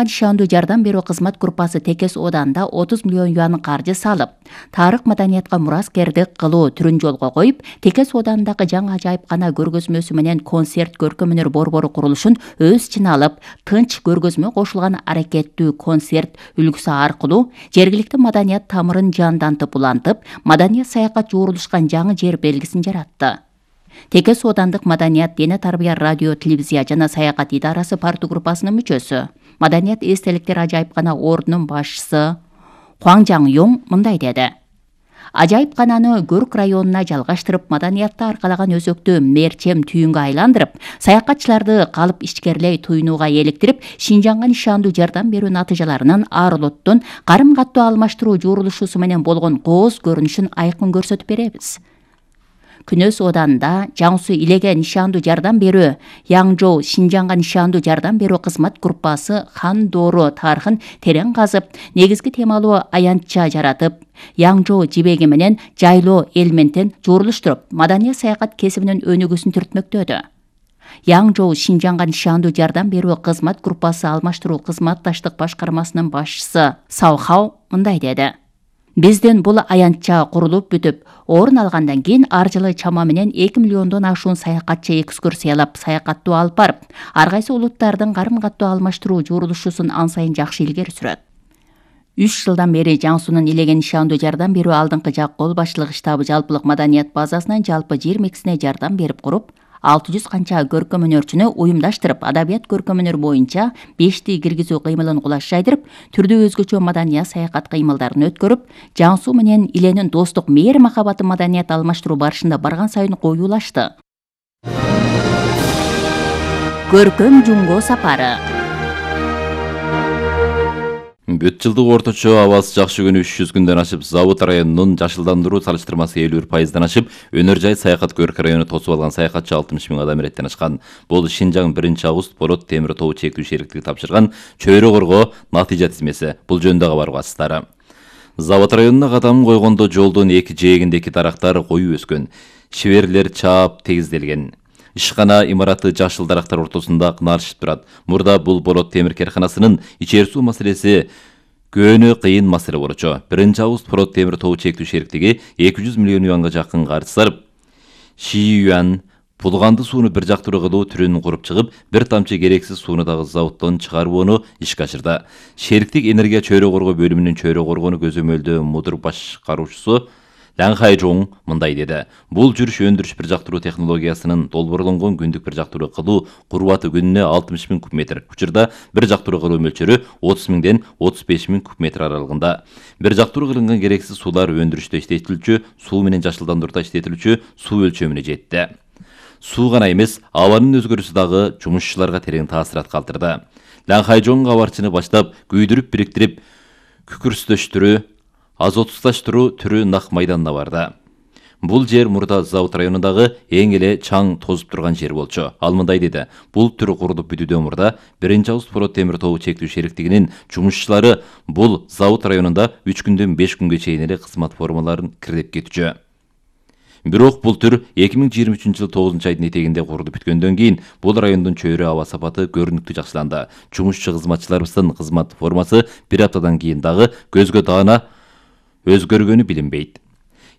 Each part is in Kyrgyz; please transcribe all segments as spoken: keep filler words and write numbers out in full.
ишандуу жардам берүү кызмат группасы Текес Ооданда отуз миллион юан каржы салып, тарых маданиятка мураскердик кылуу түрүн жолго коюп, Текес Оодандагы жаңы ажайыпкана көргөзмөсү менен концерт көркөм-өнөр борбору курулушун өз ичине алып, тынч көргөзмө кошулган аракеттүү концерт үлгүсү аркылуу жергиликтүү маданият тамырын жандантып улантып, маданият саякат жуурулушкан жаңы жер белгисин жаратты. Текес Оодандык маданият, дене тарбия, радио, телевизия жана саякат идарасы парту группасынын мүчөсү, маданият эстеликтер ажайыпкана ордунун башчысы Хуаң Жаң-Йоң мындай деди. Ажайыпкананы Көрк районуна жалгаштырып, маданиятты аркалаган өзөктү мерчем түйүнгө айландырып, саякатчыларды калып ичкерлей туйнууга эликтирип, Шинжаңга нишандуу жардам берүү натыйжаларынын ар улуттун карым-каттуу алмаштыруу жуурулушусу менен болгон кооз көрүнүшүн айкын көрсөтүп беребиз. Күнөс Ооданда Жаңсу Илеге нишандуу жардам берүү, Янжоу Шинжаңга нишандуу жардам берүү кызмат группасы Хан Доору тарыхын терең казып, негизги темалуу аянтча жаратып, Янжоу жибеги менен жайлоо элементин жуурулуштуруп, маданият саякат кесибинин өнүгүүсүн түртмөктөдү. Янжоу Шинжаңга нишандуу жардам берүү кызмат группасы алмаштыруу кызматташтык башкармасынын башчысы Саухау мындай деди. Биздин бул аянтча курулуп бүтүп, орун алгандан кийин ар жылы чама менен эки миллиондон ашуун саякатчы экскурсиялап, саякаттуу алып барып, ар кайсы улуттардын карым-каттуу алмаштыруу жуурулушусун ан сайын жакшы илгери сүрөт. үч жылдан бери Жаңсунун Илеге нишандуу жардам берүү алдыңкы жак кол башчылык штабы жалпылык маданият базасынан жалпы жыйырма экисине жардам берип куруп, алты жүз канча көркөм-өнөрчүнү уюмдаштырып, адабият көркөм-өнөр боюнча бешти киргизүү кыймылын кулаш жайдырып, түрдүү өзгөчө маданият саякат кыймылдарын өткөрүп, Жаңсу менен Иленин достук мээри махабаты маданият алмаштыруу барышында барган сайын коюулашты. Көркөм Жумго сапары. Бүт жылдык орточо абасы жакшы күнү үч жүз күндөн ашып, Завод районунун жашылдандыруу салыштырмасы элүү бир пайыздан ашып, өнөр жай саякат Көрк району тосуп алган саякатчы алтымыш миң адам иреттен ашкан. Бул Шинжаң биринчи август Порот темир тобу чектүү шериктиги тапшырган чөйрө коргоо натыйжа тизмеси. Бул жөнүндө кабар угасыздар. Завод районуна кадам койгондо жолдун эки жээгиндеки дарактар коюу өскөн. Шиберлер чаап тегизделген. Ишкана имараты жашыл дарактар ортосунда кыналышып турат. Мурда бул Порот темир керканасынын ичер суу маселеси көөнү кыйын маселе болчу. биринчи август Порот темир тобу чектүү шериктиги эки жүз миллион юанга жакын каржы сарып, Ши юан булганды сууну бир жактуу кылуу түрүн куруп чыгып, бир тамчы керексиз сууну дагы заводдон чыгарууну ишке ашырды. Шериктик энергия чөйрө коргоо бөлүмүнүн чөйрө коргоону көзөмөлдөө мудур башкаруучусу Лан Хайжоң мындай деди. Бул жүрүш өндүрүш бир жактуу технологиясынын долбоорлонгон күндүк бир жактуу кылуу курбаты күнүнө алтымыш миң куб метр. Учурда бир жактуу кылуу мөлчөрү отуз миңден отуз беш миң куб метр аралыгында. Бир жактуу кылынган керексиз суулар өндүрүштө иштетилүүчү, суу менен жашылдандырууда иштетилүүчү суу өлчөмүнө жетти. Суу гана эмес, абанын өзгөрүүсү дагы жумушчуларга терең таасират калтырды. Лан Хайжоң кабарчыны баштап күйдүрүп бириктирип, күкүрстөштүрүү, азотусташтыруу түрү нак майданына барды. Бул жер мурда Завод районундагы эң эле чаң тозуп турган жер болчу. Ал мындай деди. Бул түр курулуп бүтүүдөн мурда биринчи август Порот темир тобу чектүү шериктигинин жумушчулары бул Завод районунда үч күндөн беш күнгө чейин эле кызмат формаларын кирдеп кетчү. Бирок бул түр эки миң жыйырма үчүнчү жылы тогузунчу айдын этегинде курулуп бүткөндөн кийин бул райондун чөйрө аба сапаты көрүнүктүү жакшыланды. Жумушчу кызматчыларыбыздын кызмат формасы бир аптадан кийин дагы көзгө даана өзгөргөнү билинбейт.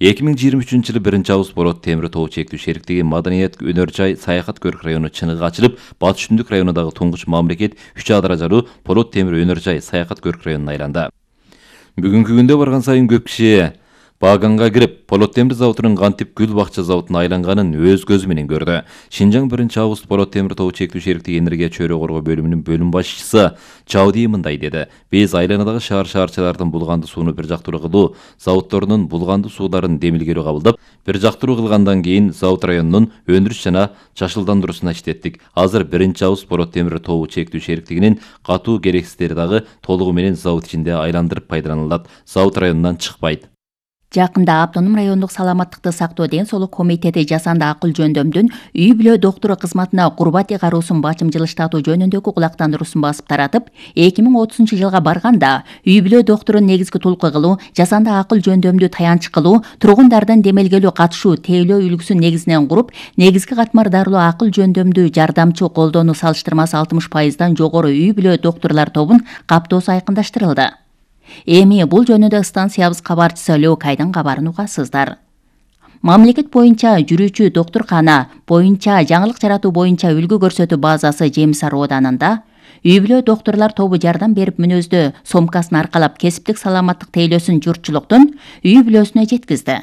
эки миң жыйырма үчүнчү жылы биринчи август Порот темир тобу чектүү шериктиги маданият өнөр жай саякат Көрк району чыныгы ачылып, Батыш Түндүк районундагы туңгуч мамлекет үч А даражалуу Порот темир өнөр жай саякат Көрк районуна айланды. Бүгүнкү күндө барган сайын көп киши Баганга кирип, Порот темир заводунун кантип гүл бакча заводуна айланганын өз көзү менен көрдү. Шинжаң биринчи август Порот темир тобу чектүү шериктиги энергия чөйрө коргоо бөлүмүнүн бөлүм башчысы Чауди мындай деди. Биз айланадагы шаар шаарчалардын булганды сууну бир жактуу кылуу заводдорунун булганды сууларын демилгелүү кабылдап, бир жактуу кылгандан кийин Завод районунун өндүрүш жана жашылдандыруусуна иштеттик. Азыр биринчи август Порот темир тобу чектүү шериктигинин катуу керексиздери дагы толугу менен завод ичинде айландырып пайдаланылат. Завод районунан чыкпайт. Жакында Автономдук райондук саламаттыкты сактоо ден соолук комитети жасанды акыл жөндөмдүн үй бүлө доктору кызматына курбат ыйгаруусун бачым жылыштатуу жөнүндөгү кулактандыруусун басып таратып, эки миң отузунчу жылга барганда үй бүлө докторун негизги толку кылуу, жасанды акыл жөндөмдү таянч кылуу, тургундардын демелгелүү катышуу тейлөө үлгүсүн негизинен куруп, негизги катмар дарылоо акыл жөндөмдү жардамчы колдонуу салыштырмасы алтымыш пайыздан жогору үй бүлө докторлор тобун каптоосу айкындаштырылды. Эми бул жөнүндө станциябыз кабарчысы Лёкайдын кабарын угасыздар. Мамлекет боюнча жүрүүчү доктуркана боюнча жаңылык жаратуу боюнча үлгү көрсөтүү базасы Жемис Ар ооданында үй бүлө докторлор тобу жардам берип мүнөздө сомкасын аркалап кесиптик саламаттык тейлөөсүн журтчулуктун үй бүлөсүнө жеткизди.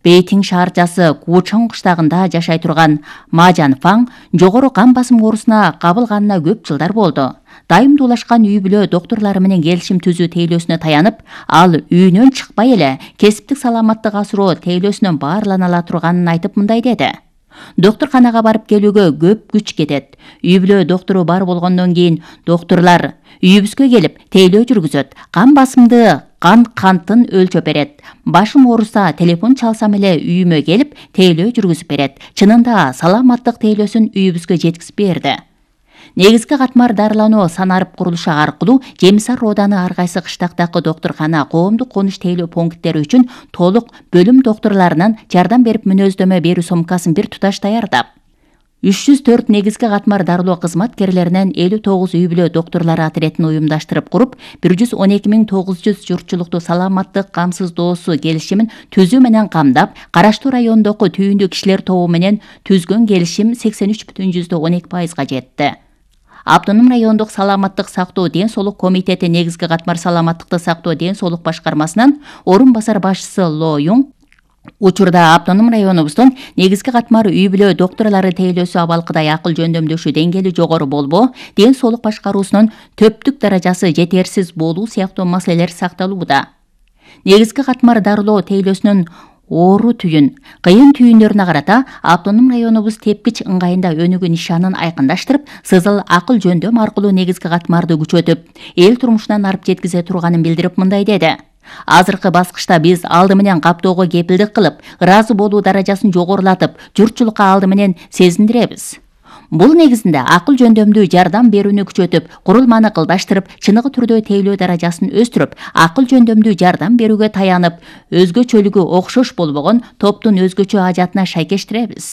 Бейтиң шаарчасы Кучоң кыштагында жашай турган Мажан Фаң жогору кан басым оорусуна кабылганына көп жылдар болду. Дайым дуулашкан үй бүлө докторлору менен келишим түзүү тейлөөсүнө таянып, ал үйүнөн чыкпай эле кесиптик саламаттык асыроо тейлөөсүнөн баарлана ала турганын айтып мындай деди. Докторканага барып келүүгө көп күч кетет. Үй бүлө доктору бар болгондон кийин докторлор үйүбүзгө келип тейлөө жүргүзөт. Кан басымды кан кантын өлчөп берет. Башым ооруса телефон чалсам эле үйүмө келип тейлөө жүргүзүп берет. Чынында саламаттык тейлөөсүн үйүбүзгө жеткизип берди. Негизги катмар дарылануу санарып курулушу аркылуу Жемис Ар ооданы ар кайсы кыштактагы доктуркана, коомдук конуш тейлөө пункттери үчүн толук бөлүм докторлорунан жардам берип мүнөздөмө берүү сомкасын бир туташ даярдап, үч жүз төрт негизги катмар дарылоо кызматкерлеринен элүү тогуз үй бүлө докторлору отрядын уюмдаштырып куруп, бир жүз он эки миң тогуз жүз журтчулукту саламаттык камсыздоосу келишимин түзүү менен камдап, караштуу райондогу түйүндүү кишилер тобу менен түзгөн келишим сексен үч бүтүн жүздөн он эки пайызга жетти. Автономдук райондук саламаттык сактоо ден соолук комитети негизги катмар саламаттыкты сактоо ден соолук башкармасынан орун басар башчысы Ло Юң учурда автономдук районубуздун негизги катмар үй бүлө докторлору тейлөөсү абалкыдай акыл жөндөмдөшүү деңгээли жогору болбоо, ден соолук башкаруусунун төптүк даражасы жетерсиз болуу сыяктуу маселелер сакталууда. Негизги катмар дарылоо тейлөөсүнүн оору түйүн, кыйын түйүндөрүнө карата автономдук районубуз тепкич ыңгайында өнүгүү нишанын айкындаштырып, сызыл акыл жөндөм аркылуу негизги катмарды күчөтүп, эл турмушунан арып жеткизе турганын билдирип мындай деди. Азыркы баскычта биз алды менен каптоого кепилдик кылып, ыраазы болуу даражасын жогорулатып, журтчулукка алды менен сезиндиребиз. Бул негизинде акыл жөндөмдүү жардам берүүнү күчөтүп, курулманы кылдаштырып, чыныгы түрдө тейлөө даражасын өстүрүп, акыл жөндөмдүү жардам берүүгө таянып, өзгөчөлүгү окшош болбогон топтун өзгөчө ажатына шайкештиребиз.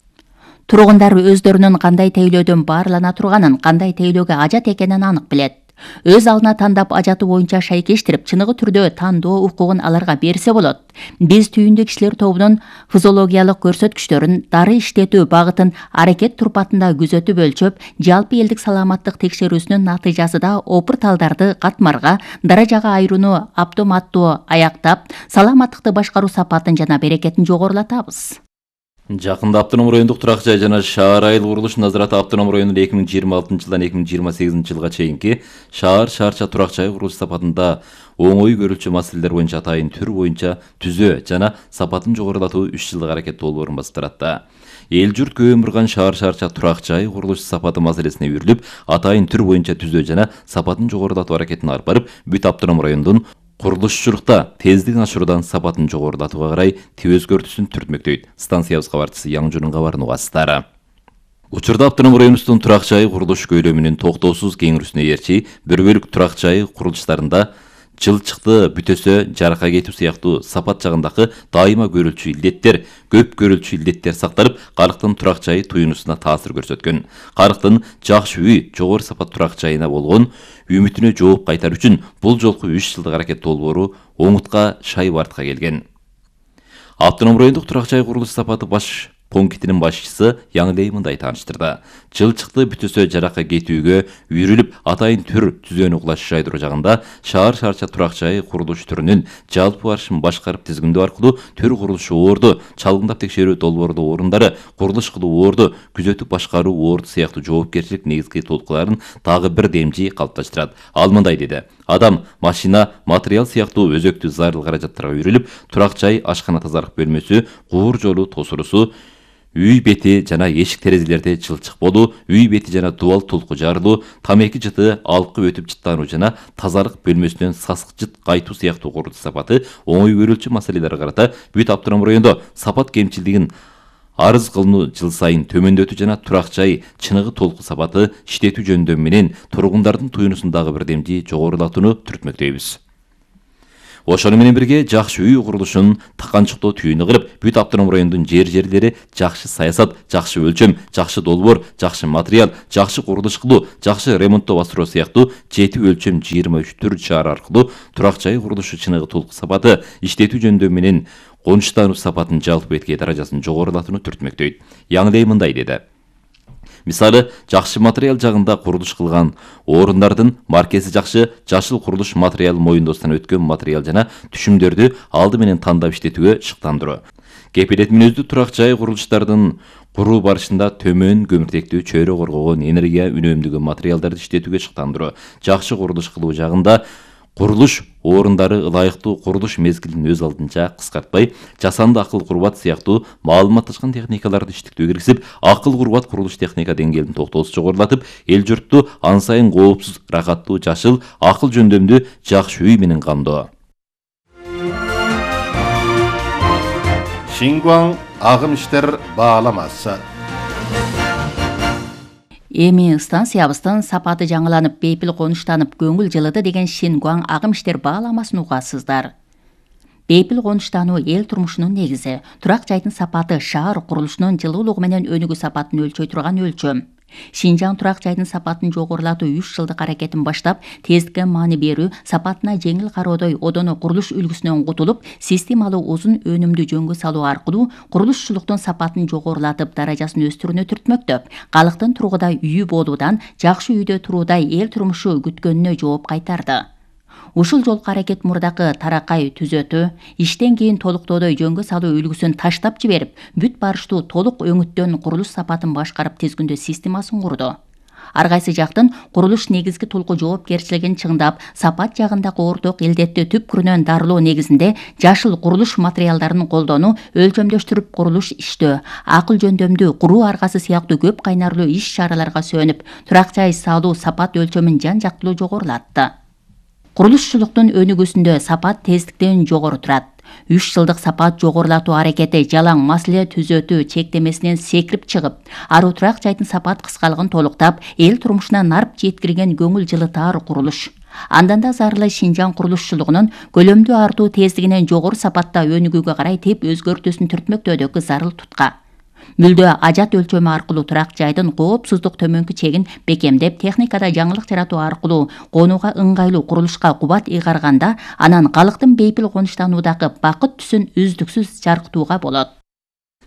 Тургундар өздөрүнүн кандай тейлөөдөн баарлана турганын, кандай тейлөөгө ажат экенин анык билет. Өз алдына тандап ажаты боюнча шайкештирип, чыныгы түрдө тандоо укугун аларга берсе болот. Биз түйүндүү кишилер тобунун физиологиялык көрсөткүчтөрүн, дары иштетүү багытын аракет турпатында күзөтүп өлчөп, жалпы элдик саламаттык текшерүүсүнүн натыйжасында опурталдарды катмарга, даражага айырууну автоматтуу аяктап, саламаттыкты башкаруу сапатын жана берекетин жогорулатабыз. Жакында Автономдук райондук турак жай жана шаар айыл курулуш назараты Автономдук районунда эки миң жыйырма алтынчы жылдан эки миң жыйырма сегизинчи жылга чейинки шаар шаарча турак жай курулуш сапатында оңой көрүлчү маселелер боюнча атайын түр боюнча түзөө жана сапатын жогорулатуу үч жылдык аракет долбоорун басып таратты. Эл журт көп өмүрган шаар шаарча турак жай курулуш сапаты маселесине үйрүлүп, атайын түр боюнча түзөө жана сапатын жогорулатуу аракетин алып барып, бүт Автономдук райондун курулушчулукта тездигин ашыруудан сапатын жогорулатууга карай тип өзгөртүүсүн түртмөктөйт. Станциябыз кабарчысы Яңжурдун кабарын угасыздар. Учурда Автономдук районубуздун турак жай курулуш көйлөмүнүн токтоосуз кеңирүүсүнө ээрчи бир бөлүк турак жай курулуштарында жылчыкты бүтөсө жарака кетүү сыяктуу сапат жагындагы дайыма көрүлчү илдеттер, көп көрүлчү илдеттер сакталып, карыктын турак жайы туюнусуна таасир көрсөткөн. Карыктын жакшы үй, жогору сапат турак жайына болгон үмүтүнө жооп кайтар үчүн бул жолку үч жылдык аракет долбоору оңутка шай бартка келген. Автономдук райондук турак жай курулуш сапаты баш пунктинин башчысы Яңлей мындай тааныштырды. Жылчыкты бүтөсө жарака кетүүгө үйрүлүп, атайын түр түзөөнү кулаш жайдыруу жагында шаар шаарча турак жай курулуш түрүнүн жалпы барышын башкарып тизгиндөө аркылуу төр курулушу оорду, чалгындап текшерүү долбоордуу орундары, курулуш кылуу оорду, күзөтүп башкаруу оорду сыяктуу жоопкерчилик негизги толкуларын дагы бир демжи калыпташтырат. Ал мындай деди: адам, машина, материал сыяктуу өзөктүү зарыл каражаттарга үйрүлүп, турак жай, ашкана тазалык бөлмөсү, куур жолу, тосурусу, үй бети жана эшик терезелерде жылчык болуу, үй бети жана дубал тулку жарылуу, тамеки жыты алкып өтүп жыттануу жана тазалык бөлмөсүнөн сасык жыт кайтуу сыяктуу курулуш сапаты оңой көрүлчү маселелерге карата бүт автоном райондо сапат кемчилдигин арыз кылынуу жыл сайын төмөндөтүү жана турак жай чыныгы толку сапаты иштетүү жөндөмү менен тургундардын туюнусун дагы бирдемди жогорулатууну түртмөктөйбүз. Ошону менен бирге жакшы үй курулушун таканчыктоо түйүнү кылып, бүт автоном райондун жер-жерлери жакшы саясат, жакшы өлчөм, жакшы долбоор, жакшы материал, жакшы курулуш кылуу, жакшы ремонттоо бастыруу сыяктуу жети өлчөм жыйырма үч түр чара аркылуу турак жай курулушу чыныгы толку сапаты, иштетүү жөндөмү менен конуштануу сапатын жалпы этки даражасын жогорулатууну түртмөктөйт. Яңлей мындай деди. Мисалы, жакшы материал жагында курулуш кылган орундардын маркеси жакшы, жашыл курулуш материал моюндоосунан өткөн материал жана түшүмдөрдү алды менен тандап иштетүүгө шыктандыруу. Кепилет мүнөздүү турак жай курулуштардын куруу барышында төмөн көмүртектүү чөйрө коргогон энергия үнөмдөгөн материалдарды иштетүүгө шыктандыруу. Жакшы курулуш кылуу жагында курулуш орундары ылайыктуу курулуш мезгилин өз алдынча кыскартпай, жасанды акыл курбат сыяктуу маалыматташкан техникаларды иштетүүгө киргизип, акыл курбат курулуш техника деңгээлин токтоосуз жогорулатып, эл журтту ан сайын коопсуз, рахаттуу, жашыл, акыл жөндөмдүү жакшы үй менен камдоо. Шингуаң агым иштер бааламасы. Эми станциябыздын сапаты жаңыланып, бейпил конуштанып, көңүл жылыды деген Шингуаң агым иштер бааламасын угасыздар. Бейпил конуштануу эл турмушунун негизи. Турак жайдын сапаты шаар курулушунун жылуулугу менен өнүгүү сапатын өлчөй турган өлчөм. Шинжаң турак жайдын сапатын жогорулатуу үч жылдык аракетин баштап, тездикке маани берүү, сапатына жеңил кароодой одоно курулуш үлгүсүнөн кутулуп, системалуу узун өнүмдүү жөнгө салуу аркылуу курулушчулуктун сапатын жогорулатып, даражасын өстүрүүнү түртмөктөп, калктын тургудай үйү болуудан, жакшы үйдө туруудай эл турмушу күткөнүнө жооп кайтарды. Ушул жолку аракет мурдакы таракай түзөтүү, иштен кийин толуктоодой жөнгө салуу үлгүсүн таштап жиберип, бүт барыштуу толук өңүттөн курулуш сапатын башкарып тизгүндөө системасын курду. Ар кайсы жактын курулуш негизги толку жоопкерчилигин чыңдап, сапат жагындагы орток илдетти түпкүрүнөн дарылоо негизинде жашыл курулуш материалдарын колдонуу, өлчөмдөштүрүп курулуш иштөө, акыл жөндөмдүү куруу аркасы сыяктуу көп кайнарлуу иш чараларга сөнүп, турак жай салуу сапат өлчөмүн жан жактылуу жогорулатты. Курулушчулуктун өнүгүүсүндө сапат тездиктен жогору турат. үч жылдык сапат жогорулатуу аракети жалаң маселе түзөтүү чектемесинен секирип чыгып, аруу турак жайдын сапат кыскалыгын толуктап, эл турмушуна нарп жеткирген көңүл жылытаар курулуш. Андан да зарылы Шинжаң курулушчулугунун көлөмдүү артуу тездигинен жогору сапатта өнүгүүгө карай теп өзгөртүүсүн түртмөктөөдөгү зарыл тутка. Мүлдө ажат өлчөмү аркылуу турак жайдын коопсуздук төмөнкү чегин бекемдеп, техникада жаңылык жаратуу аркылуу конууга ыңгайлуу курулушка кубат ыйгарганда, анан калктын бейпил конуштануудагы бакыт түсүн үздүксүз жаркытууга болот.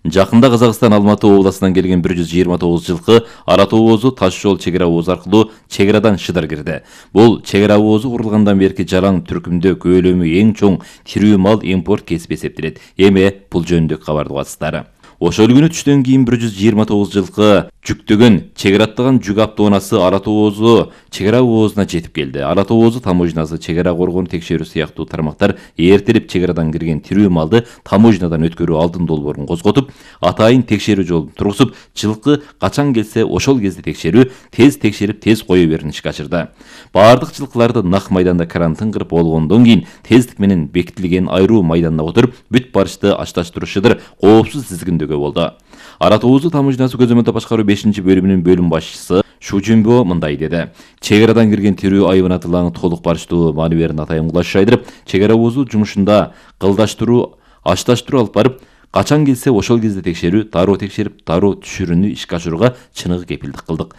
Жакында Казакстан Алматы областынан келген бир жүз жыйырма тогуз жылкы ара тоозу таш жол чек ара оозу аркылуу чек арадан Шыдар кирди. Бул чек ара оозу курулгандан берки жалаң түркүмдө көлөмү эң чоң тирүү мал импорт кесип эсептелет. Эми бул жөнүндө кабарды угасыздар. Ошол күнү түштөн кийин бир жүз жыйырма тогуз жылкы жүктөгөн чек араттаган жүк автоунаасы ара тоозу чек ара оозуна жетип келди. Ара тоозу таможнасы, чек ара коргонуу текшерүү сыяктуу тармактар эртелип чек арадан кирген тирүү малды таможнадан өткөрүү алдын долбоорун козготуп, атайын текшерүү жолун тургузуп, жылкы качан келсе ошол кезде текшерүү, тез текшерип, тез кое берүүнү ишке ашырды. Баардык жылкыларды нак майданда карантин кырып болгондон кийин тездик менен бекитилген айруу майданда отуруп, бүт барышты ашташтырышыдыр коопсуз тизгиндөгө болду. Ара тоозу таможнасы көзөмөлдөө башкаруу бешинчи бөлүмүнүн бөлүм башчысы Шужинбо мындай деди. Чек арадан кирген тирүү айбанатылаңы толук барыштуу маани берин атайын кулаш айдырып, чек ара оозу жумушунда кылдаштыруу, ашташтыруу алып барып, качан келсе ошол кезде текшерүү, дароо текшерип, дароо түшүрүүнү ишке ашырууга чыныгы кепилдик кылдык.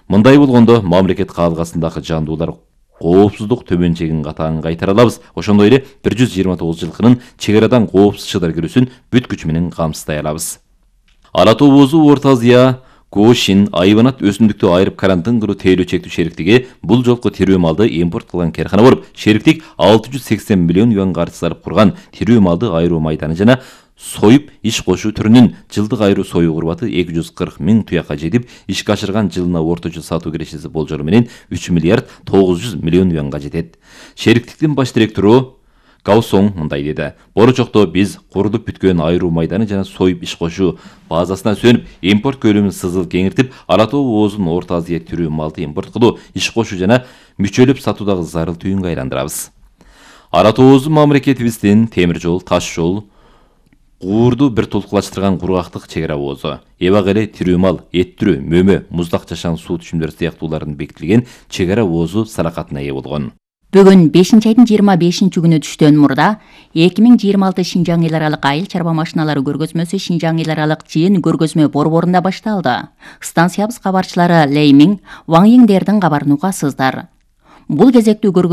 Мындай болгондо мамлекет каалгасындагы жандуулар коопсуздук төмөн чегин катаң кайтара алабыз. Ошондой эле бир жүз жыйырма тогуз жылкынын чек арадан коопсуз Шыдар кирүүсүн бүт күч менен камсыздай алабыз. Ара тоозу Орто Азия Кошин айбанат өсүмдүктү айырып карантин кылуу тейлөө чектүү шериктиги бул жолку тирүү малды импорт кылган керкана болуп, шериктик алты жүз сексен миллион юан каржы сарп курган тирүү малды айыруу майданы жана союп иш кошуу түрүнүн жылдык айруу союу курбаты эки жүз кырк миң туякка жетип, ишке ашырган жылына орточо сатуу кирешеси болжолу менен үч миллиард тогуз жүз миллион юанга жетет. Шериктиктин баш директору Гаусоң мындай деди. Болочокто биз курулуп бүткөн айруу майданы жана союп иш кошуу базасына сөнүп, импорт көлөмүн сызыл кеңиртип, Ара Тоо оозун Орто Азия түрү малды импорт кылуу, иш кошуу жана мүчөлөп сатуудагы зарыл түйүнгө айландырабыз. Ара Тообуздун мамлекетибиздин темир жол, таш жол, Куурду бир толкулаштырган кургактык чек ара оозу. Эбак эле тирүү мал, эт түрү, мөмө, муздак жашан суу түшүмдөрү сыяктуулардын бекитилген чек ара оозу салакатына ээ болгон. Бүгүн бешинчи айдын жыйырма бешинчи күнү түштөн мурда эки миң жыйырма алты Шинжаң эл аралык айыл чарба машиналары көргөзмөсү Шинжаң эл аралык жыйын көргөзмө борборунда башталды. Станциябыз кабарчылары Леймиң, Ваң Йиңдердин кабарын угасыздар. Бул кезектүү көргөзмө